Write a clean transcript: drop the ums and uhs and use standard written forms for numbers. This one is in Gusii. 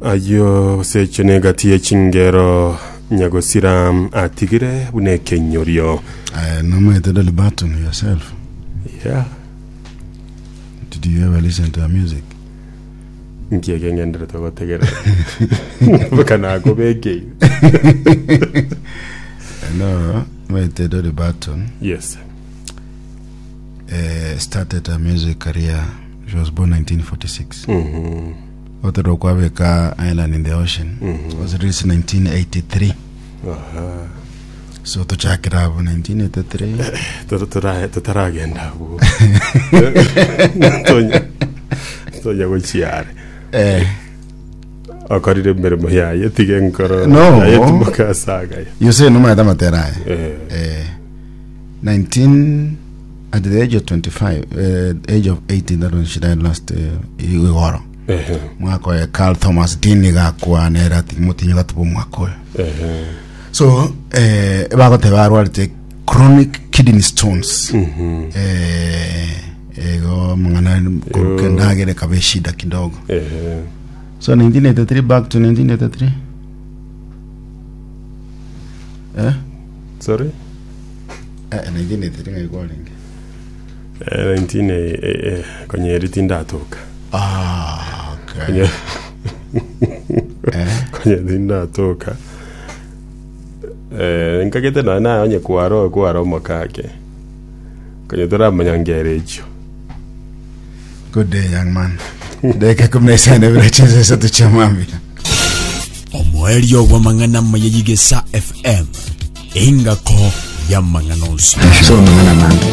Ayio gose echio negati ye chingero nyagosira atigire buna ekenyorio. Aye nomaete Dolly Parton yourself. Yeah. Did you ever listen to her music? Nki eke ngenderete gotegerera? Mpaka nakobekeire. No, maete Dolly Parton Yes. eh, started her music career. She was born 1946. Mhm. Otero kwabeka Island in the Ocean was released in 1983. Aha. So tochakera abo 1983. Tora- tora- Totaragenda abwo. Tonya tonya gochiare. Eh, Okorire emeremo yaye tiga enkoro No. yaye timoka asagaya. you say no matter matera aya. Eh. Eh, 19 at the age of 25 eh, age of 18 that when she died last eh, igoro. Ehe. Mwaka oyo Carl Thomas Dean gakwa nere ati motinyo gatuba omwaka oyo. Ehe. So eh, bagoteba arwarete chronic kidney stones. Eh, ego mang'ana koruka endagera ekaba eshida kidogo. Ehe. So 1983 back to 1983. Eh? Sorry? Eh, 1983 ng'ai kwarenge? Eh, 19 eh, eh, eh, konyeri tindatoka. Ah, okay. Konye Eh? konye tindatoka. Eh, nkagete nonya naye onye kwaro kwaro omokake. Konye toramanya ngere echio. Good day, young man. Dakika 15 bila cheza sasa tuchamwambia. Omoerio bw'amang'ana amaya y'Igesa FM, engako y'amang'ana onsi. Soma amang'ana amange.